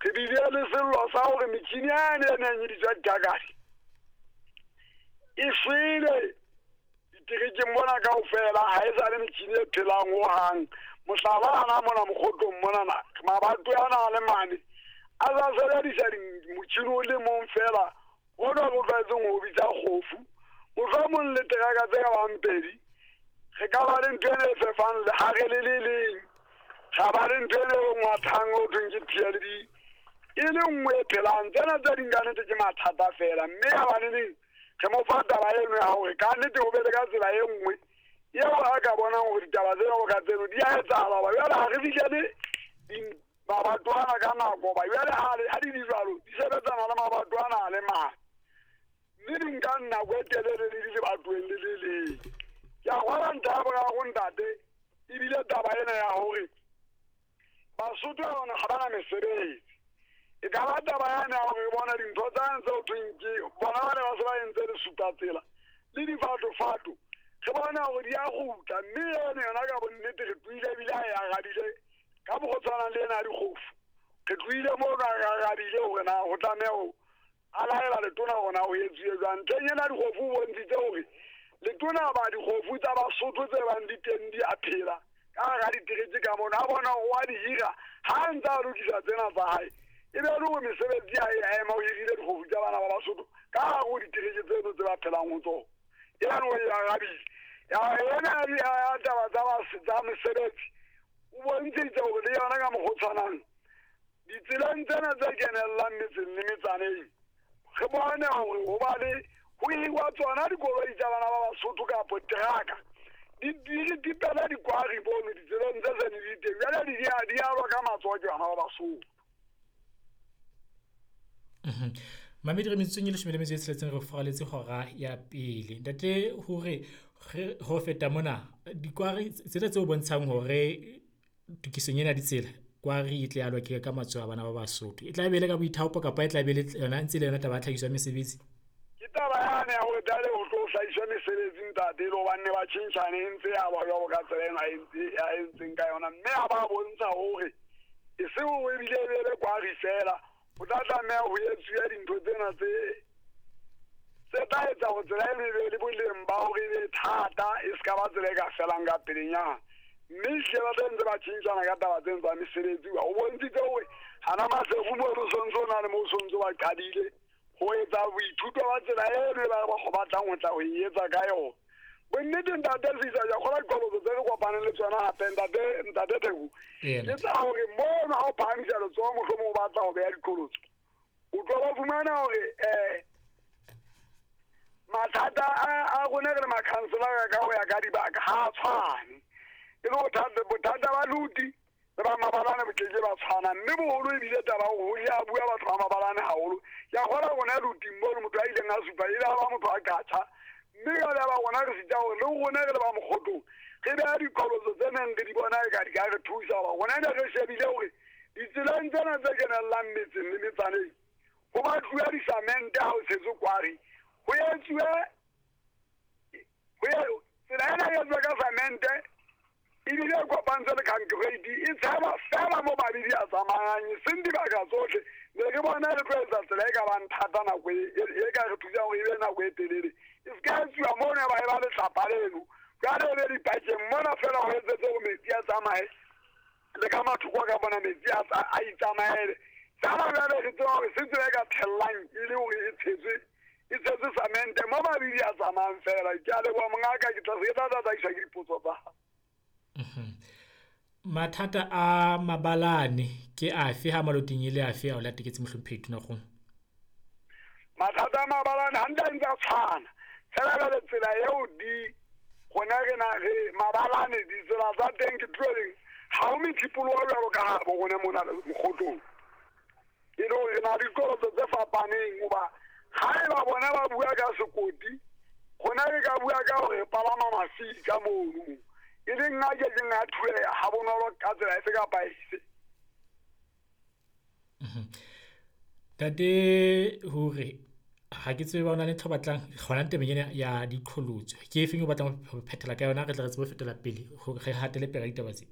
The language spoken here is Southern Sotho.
Re bile le sello sa hore metjhini yane e neng e bitswa ditakadi e shwele diterekeng mona kaofela, ha e sa le metjhini e phelang hohang. Mohlala hana mona Mokgotlong monana, mabato ana a le mane a sa sebedisa motjhini o le mong feela ona re tlwaetseng ho bitsa kgofu. Mohlomong le teraka tse ka bang pedi, re ka ba le ntho ena e fefang lehare le le leng, ra ba le ntho ena e ngwathang ho thweng ke P_L_B e le nngwe e phelang. Tsena tse ding ka nnete ke mathata feela, mme ha baneneng re mo fa taba eno ya hore ka nnete ho be le ka tsela e nngwe eo a ka bonang hore ditaba tsena ka tseno di a etsahala. Hoba jwale ha re fihlele mabato ana ka nako, hoba jwale ha di le jwalo di sebetsana le mabato ana a le mane, mme di nka nako e telele le di lebatoweng le le leng. Ke a kgolwa ntlha ya boraro ntate, ebile taba ena ya hore Basotho ba bona ha bana mesebetsi. E ka ba taba yane ya hore re bona dintho tsane tse ho thweng ke bona ba ne ba se ba entse lesupatsela le difatofato, re bona hore di a kgutla, mme eno yona ka bonnete re tlohile ebile a e arabile ka mokgwa o tshwanang le ena ya dikgofu. Re tlohile mono a re arabile hore na ho tlameha ho a laela letona hore na ho etsuwe jwang. Ntlheng ena dikgofu o bontshitse hore letona ba dikgofu tsa Basotho tse bang di teng di a phela ka hara ditereke ka mona, a bona hore wa di hira ha a ntse a lokisa tsena tsa hae, e be le hore mesebetsi ya hae a ema o hirile dikgofu tsa bana ba Basotho ka hare ho ditereke tseno tse ba phelang ho tsona. Eno o e arabile. Ya ena ya taba tsa mesebetsi o bontshitse hore le yona ka mokgwa o tshwanang ditseleng tsena tse kenellang metseng le metsaneng, re bone hore ho ba le ho hirwa tsona dikoloi tsa bana ba Basotho kapo teraka di tipela dikwari mono ditseleng tse seng di teng, jwale di alwa ka matsoho ke bana ba Basotho. Mamedi, re metsotsong e 16 re furaletse hora ya pele. Ntate, hore re ho feta mona dikwari tsena tse o bontshang hore tokisong ena ya ditsela kwari e tle alwa ke ka matsoho a bana ba Basotho, e tla be le ka boithaopo kapa e tla be le yona ntse le yona taba ya tlhahiso ya mesebetsi? Ke taba yane ya hore tla ho tlo hlahiswa mesebetsi ntate, le hobane ba tjhentjhane e ntse ya ba jwalo ka tsela ena a entseng ka yona, mme ha ba bontsha hore e seng hore ebile e be le kwari feela, ho tla tlameha ho etsuwe dintho tsena tse tla etsa hore tsela eno e be le boleng ba hore e be thata, e se ka ba tsela e ka felang ka pelenyana. Mme ehlile ba tla ntse ba tjhentjhana ka taba tseno tsa mesebetsi. O bontshitse hore hana Maseru mono o sontso o na le moo o sontso ba qadile ho etsa boithuto ba tsela eno e ba batlang ho tla ho e etsa ka yona. Bonnete ntate Sisa, ke a kgolwa diqholotso tse re kopaneng le tsona hape ntate Theko, ke tsa hore mono ha o phahamisa letsoho mohlomong o batla ho beha diqholotso, o tlo ba fumana hore mathata a rona re le makhanselara ka ho ya ka dibaka ha a tshwane. E le bothata ba luti le ba mabalane bo keke ba tshwana, mme boholo ebile taba hore ho ya bua batho ba mabalane haholo. Ke a kgolwa rona luting mono motho a ileng a supa e le ba motho a qatjha, mme jwale ba rona re sita hore le rona re le ba Mokgotlong re beha diqholotso tse neng re di bona e ka di ka re thusa. Hoba rona ne re shebile hore ditseleng tsena tse kenellang metseng le metsaneng ho batluwe disamente ha ho tshetswe kwari, ho etsuwe tsela ena e etsuwe ka samente ebile e kopantswe le concrete, e tshelwa feela mo mabidi a tsamayang, e seng dibaka tsohle. Ne re bona re tlo etsa tsela e ka bang thata nako e ka re thusang hore e be nako e telele, e se ka etsuwa mono e ba e ba letlapa leno, jwale e be dipakeng mona feela ho etsetse hore metsi a tsamaye le ka mathoko ka bona metsi a itsamaele. Feela jwale re tseba hore se tsela e ka thellang e le hore e tshetswe samente mo mabidi a tsamayang feela. Ke a leboha mongaka, ke tla se ke tla tataiswa ke dipotso tsa hao. Mathata a mabalane ke afe ha maloting e le afe a o lateketse mohlomphehi Tonakgolo? Mathata a mabalane hantle a ntse a tshwana fela jwale tsela eo di rona re na re mabalane ditsela tsa teng ke tlo reng ha ho methipoloho jwalo ka ha bo rona mona Mokgotlong, e le hore re na le diqholotso tse fapaneng. Hoba ha eba bona ba bua ka sekoti, rona re ka bua ka hore re palama mafika mono, e leng a kekeng a thueha ha bonolo ka tsela efe kapa efe. Ntate hore ha ke tsebe ba ona le ntho batlang hona tabeng ena ya diqholotso, ke efeng o batlang ho phethela ka yona, re tle re tsebe ho fetela pele hore re hatele pele ka ditaba tse?